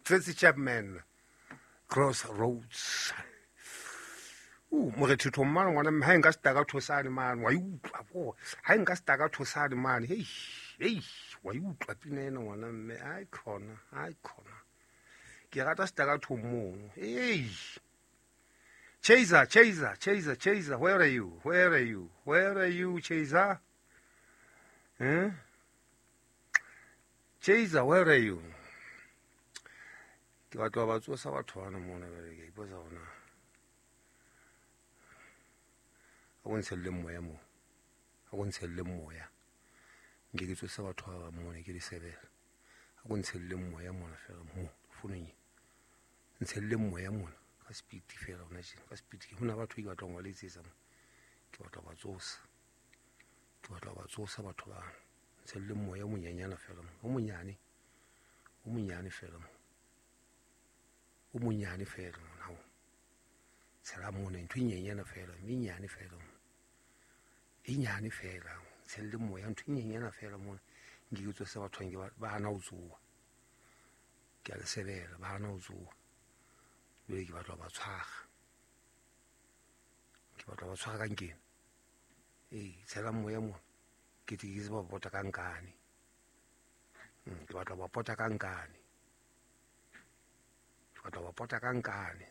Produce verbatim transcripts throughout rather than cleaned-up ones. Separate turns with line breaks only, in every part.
Tracy Chapman, Crossroads. Uh, morethetho mmane ngwana mme ha nka setaka thosane mane wa utlwa bo ha nka setaka thosane mane hey hey wa utlwa pina ena ngwana mme ai khona ai khona ke rata setaka tho mono hey Chaser Chaser Chaser Chaser, where are you, where are you, where are you, Chaser? Eh, Chaser, where are you? Ke batla ba tsosa batho bana mona bere ke ipotsa hona a go ntshelle moya mo a go ntshelle moya nke ke tsose batho ba ba mona ke di sebela a go ntshelle moya mona fela mo fonong ntshelle moya mona ka speed fela hona tjena ka speed ke hona batho ke batla go letsetsa mo ke batla ba tsosa ke batla ba tsosa batho ba ntshelle moya o monyanyana fela mo o monyane o monyane fela mo o monyane fela mona ho tshela mona ntho e nyenyana fela menyane fela mo e nyane fela tshelle moya ntho e nyenyana fela mona nke ke tsose batho nke ba hana ho tsoa ke a le sebela ba hana ho tsoa jwale ke batla ba tshwara ke batla ba tshwara ka nkena ee tshela moya mona ke tle ke tseba pota ka nkane ke batla ba pota ka nkane ke batla ba pota ka nkane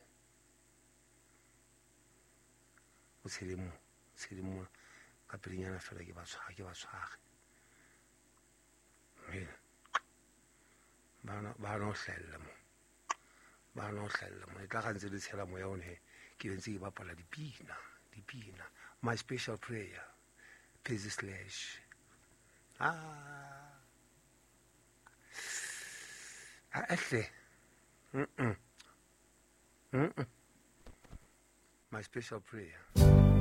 o tshele mo tshele mo ka pelenyana fela ke ba tshwara ke ba tshware ba ba no hlella mo ba no hlella mo e tla ga ntse le tshela moya one he ke ntse ke bapala dipina dipina my special prayer Percy Slash ah ahle mm mm mm my special prayer.